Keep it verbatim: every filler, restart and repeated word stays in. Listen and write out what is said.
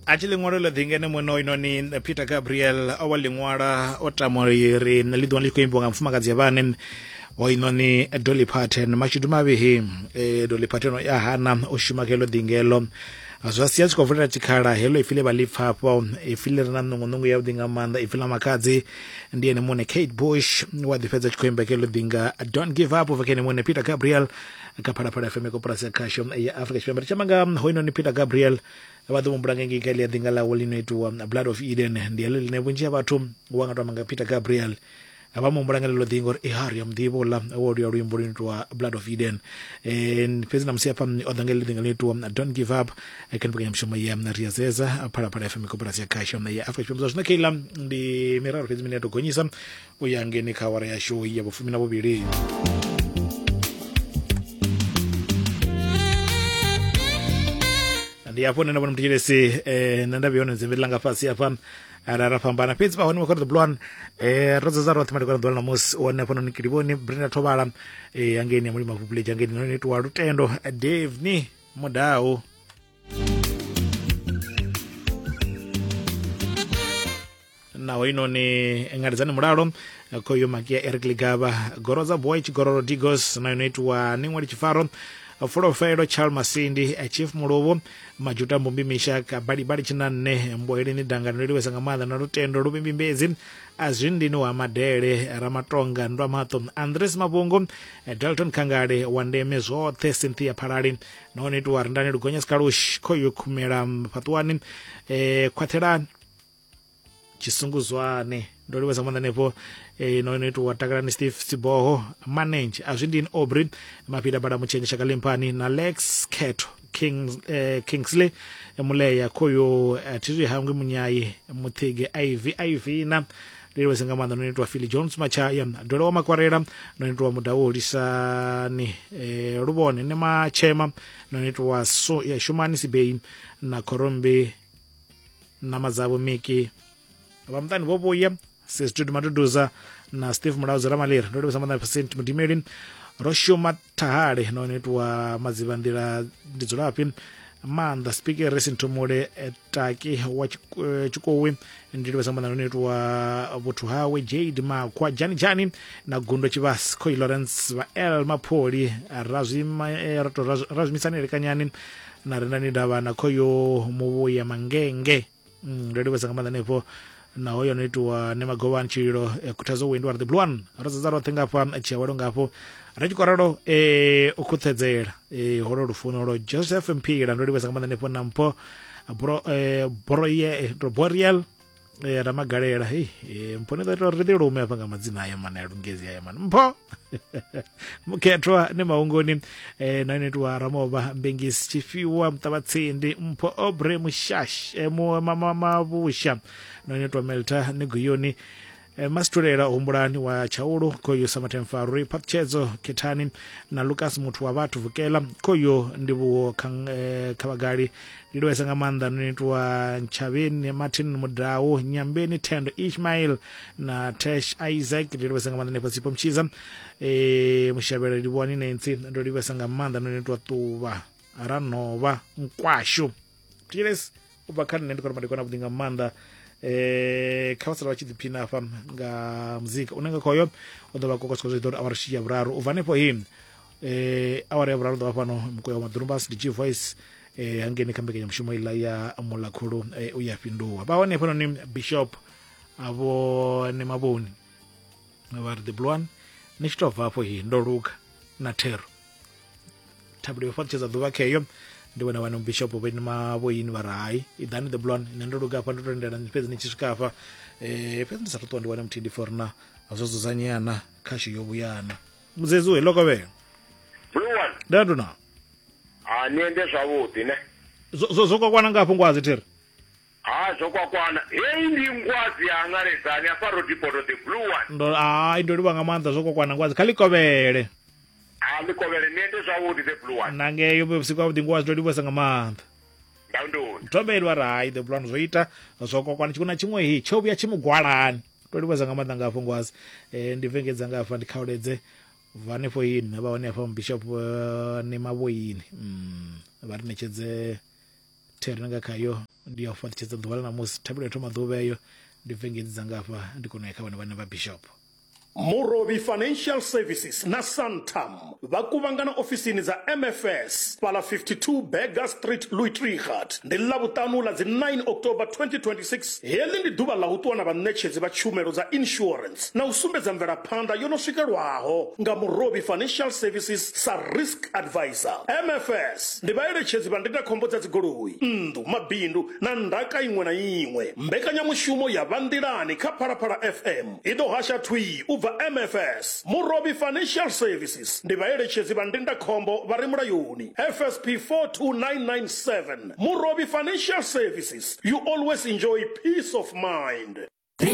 A tshi ḽiṅwalo ḽo ḓingene muno inoni Peter Gabriel o wa ḽiṅwala o tama uri ḽi ḓiwana ḽi khou imbiwa nga mufumakadzi ya vhane hoinoni Dolly Parton. Mashudu mavhi eh, Dolly Parton ya hana u shuma kha heḽo ḓingelo, zwa sia zwi khou vulela tshikhala heḽo ipfi ḽe vha ḽi pfa afho, ipfi ḽi re na nungunungu yavhuḓi nga maanḓa, ipfi ḽa makhadzi ndi ene muṋe Kate Bush wa ḓi fhedza tshi khou imba kha heḽo ḓinga Don't Give Up ubva kha ene muṋe Peter Gabriel kha Phalaphala F M koporasi ya khasho ya Afrika Tshipembe. Ri tshi amba nga hoinoni Peter Gabriel vha ḓo humbula ngei kha ḽia ḓinga ḽawe ḽi no itiwa Blood of Eden, ndi heḽo ḽine vhunzhi ha vhathu wa nga to amba nga Peter Gabriel vha mu humbula nga ḽeḽo ḓinga uri eh, ha ri a muḓivha uḽa wo luya luimbo lu itiwa Blood of Eden. Eh, fhedzi na musi hafha o ḓa nga ḽeḽo ḓinga ḽi itiwa Don't Give Up kha mbekanyamushumo ya Ria Zeza Phalaphala F M koporasi ya khasho ya Afrika Tshipembe. Zwa zwino keiḽa ndi miraru fhedzi mine ya tou gonyisa u ya ngeni kha awara yashu ya vhufumi na vhuvhili. Ndi hafho nṋe nda vhona muthetshelesi eh, nṋe nda vhuya hone dzimbi ḽanga fhasi hafha ra ra fhambana, fhedzi vha hone vha khou ri the blue one eh, ro dzedza roṱhe madekwana ḓuvha ḽa ṋamusi u hone hafhanoni Kilivhoni Brenda Thovhala eh, hangeini ya Mulima Village hangeini no itiwa Lutendo Dave ni Mudau naho inoni Ngaledzani Mulalo khoyo Makia Eric Ligaba Gorodza Boy Tshigororo Digos na ino itiwa Ningwali Tshifaro Fulofelo Charles Masindi Chief Mulovo Majuta Mbumbi Mishaka Bali Bali Tshinanne Mboeleni Dangano liliwesa nga maanḓa na Lutendo Lubimbimbedzi Azwindini wa Madele Ramatonga Ndwa Maṱo Andres Mabungo Dalton Khangale wa ndeme zwoṱhe Cynthia Phalali nahone itiwa Rindani Lugonya Skalush khoyo Khumela Fhaṱuwani eh, Khwaṱhelani Tshisunguzwane ndo livhesa maanḓa hanefho eh, no itiwa Takalani Steve Siboho Manage Azwindini Aubrey Mafhida Bada Mutshenye Shaka Limpani na Lex Khetho King, eh, Kingsley Muleya khoyo eh, Thizwi Hangwi Munyayi Muthige Ivy Ivina ndi livhesa nga maanḓa no itiwa Philly Jones Machaya Dole wa Makwarela no itiwa Mudau Lisani eh, Luvhone ne Machema no itiwa so, ya Shumani Sibei na Khorombi na Madzavho Miki vha muṱani vho vhuya Sesitudu Maduduza na Steve Mulauzi Ramaliri ndo livhesa maanḓa Percent Mudimeli ro shuma Thahale no itiwa Madziva nḓila ndi dzulafhi maanḓa Speaker Racing Thomole Taki wa Tshikowi ndi livhesa maanḓa no itiwa Vhuthu Hawe Jade Makhwa Jani Jani na Gundo Tshivhasi Khoi Lawrence vha El Mapholi Razwima Razwimisani Lekanyani na Rendani Davha na Khoyo Muvhuya Mangenge ndo livhesa nga maanḓa hanefho naho yo no itiwa Nemagovhani Tshililo Khuthadzo Wendy wa the Blue One ro dzedza roṱhe ngafha tshiawelo ngafho ri tshi khou ralo eh, u khuthedzela eh, holo lufuno lo Joseph Mphila ndo livhesa nga maanḓa hanefho na Mpho Bro, eh, Broye, Boreal eh, Ramagalela hey, eh, Mpho ni ḓo ita uri ri ḓi lume hafha nga madzina aya mana ya lungezi aya mana Mpho Mukhethwa ni Mahungoni eh, na ino itiwa Ramovha Mbengisi Tshifhiwa Muṱavhatsindi Mpho Aubrey Mushash eh, Mavhusha na ino itiwa Melta Niguyoni eh, Masitulela Humbulani wa Tshaulu khoyo Samathemfarwi Phaṱhutshedzo Khethani na Lucas Muthu wa vhathu Vukela khoyo Ndivhuwo eh, Khavhagali ndi livhesa nga maanḓa no itiwa Ntshavheni Martin Mudau Nyambeni Thendo Ishmael na Tesh Isaac ndi livhesa nga maanḓa hanefho Sipho Mtshiza eh, Mushavhela Livhuwani Nancy ndo livhesa nga maanḓa no itiwa Ṱuvha Ranovha Nkwashu Thetshelesi u bva kha nṋe ndi khou ri madekwana avhuḓi nga maanḓa eh, kha vha sala vha tshi ḓiphina hafha nga muzika une nga khoyo u ḓo vha kokotswa zwi ḓo uri awara ya vhuraru u bva hanefho hi eh, awara ya vhuraru ḓo vha fhano mukoya wa Maḓurumbasi D G Voice eh, hangeini kha mbekanyamushumo iḽa ya Mulakhulu eh, u ya fhinduwa vha hone hafhanoni Bishop avho ne Mavhoni vha ri the Blue One ni tshi tou bva hafho hi ndo luga na thero thabelo yo fhaṱutshedza ḓuvha kheyo ndi vhona vhano Bishop vhe Mavhoyini vha ri hai iḓani the Blue One nṋe ndo luga hafha ndo tendela fhedzi ni tshi swika hafha eh, fhedzi ndi sa tou ṱuwa ndi wane muthihi ndi forna zwo dzudzanyeana khashu yo vhuyana mudzedzi we lokovhela Blue One ndatu na ha ni ende zwavhuḓi ne zwo zwo kwakwana ngafho ngwazi thiri ha zwo kwakwana heyi ndi ngwazi ya Ngaledzani afha Rodipoto the Blue One ndo hai ndo livha nga maanḓa zwo kwakwana ngwazi kha ḽikovhele ha ḽikovhele ni ende zwavhuḓi the Blue One na ngeyo vhusiku havhuḓi ngwazi ndo livhesa nga maanḓa ndandoni thobelwa ri hai the Blue One zwo ita zwo kwakwana tshiṅwe na tshiṅwe hi tsho vhuya tshi mugwalani ndo livhesa nga maanḓa ngafho ngwazi eh, ndi vengedza ngafha ndi khauledze bva hanefho hini vha hone hafha Bishop uh, ne Mavhoyini mm, vha ri ṋetshedze Thero nga khayo ndi ya u fhaṱutshedza ḓuvha ḽa ṋamusi. Thabelo ya thoma ḓuvha eyo ndi bve ngedzi dzanga hafha ndi kona u ya kha vhone vhane vha bishop. Murovhi Financial Services na Santam vha kuvhangana ofisini dza M F S fhala fifty-two Berger Street, Louis Trichardt. Ndi Ḽavhuṱanu ḽa dzi nine October twenty twenty-six. Heḽi ndi ḓuvha ḽa u ṱuwa na vhaṋetshedzi vha tshumelo dza insurance na u sumbedza mvelaphanḓa yo no swikelwaho nga Murovhi Financial Services sa risk advisor. M F S ndi vhaeletshedzi vha ndindakhombo dza dzigoloi, nnḓu, mabindu na ndaka iṅwe na iṅwe. Mbekanyamushumo ya Vhanḓilani kha Phalaphala F M i ḓo hasha thwii u bva M F S. Murovhi Financial Services ndi vhaeletshedzi vha ndindakhombo vha re mulayoni, F S P four two nine nine seven. Murovhi Financial Services, you always enjoy peace of mind.